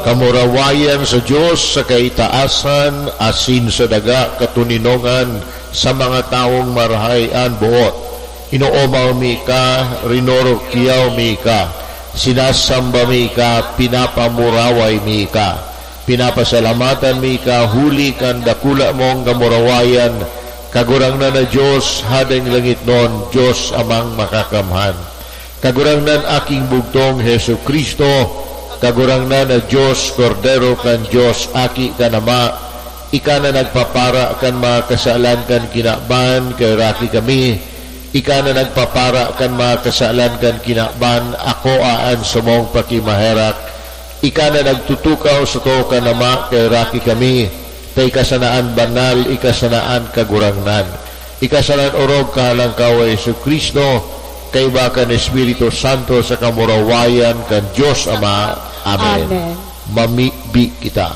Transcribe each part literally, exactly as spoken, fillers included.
Kamurawayan sa Dios sa kaitaasan asin sa daga katoninongan sa mga tawong marahay an boot. Inoomaw mi ka, rinorokyaw mi ka, sinasamba mi ka, pinapamuraway mi ka. Pinapasalamatan mi ka huli kan dakula mong kamurawayan, Kagurangnan na Dios, Hadeng langitnon, Dios Amang Makakamhan. Kagurangnan, Aking bugtong, Jesu-Cristo, Kagurangnan na Dios, Kordero kan Dios, Aki kan Ama, ika na nagpapara kan mga kasalan kan kinaban, kaheraki kami. Ika na nagpapara kan mga kasalan kan kinaban, akoa an samong pakimaherak. Ika na nagtutukaw sa too kan Ama, kaheraki kami. Ta ika sana an banal, ika sana an Kagurangnan. Ika sana an orog kahalangkaw, Jesu-Cristo, kaiba kan Espiritu Santo sa kamurawayan kan Dios Ama. Amen. Amen. Mamibi kita.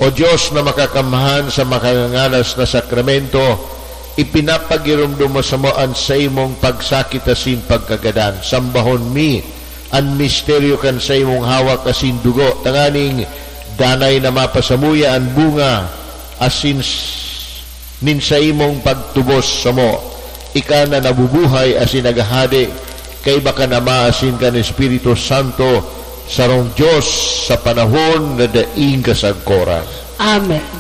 O Dios na makakamhan sa makangangalas na sakramento, ipinapagiromdom mo samo an saimong pagsakit asin pagkagadan. Sambahon mi an misteryo kan saimong hawak asin dugo, tanganing danay na mapasamuya an bunga asin s-, nin saimong pagtubos samo. Ika na nabubuhay asin naghahade, kaiba kan Ama asin kan Espiritu Santo, sarong Dios sa panahon na daing kasagkoran. Amen.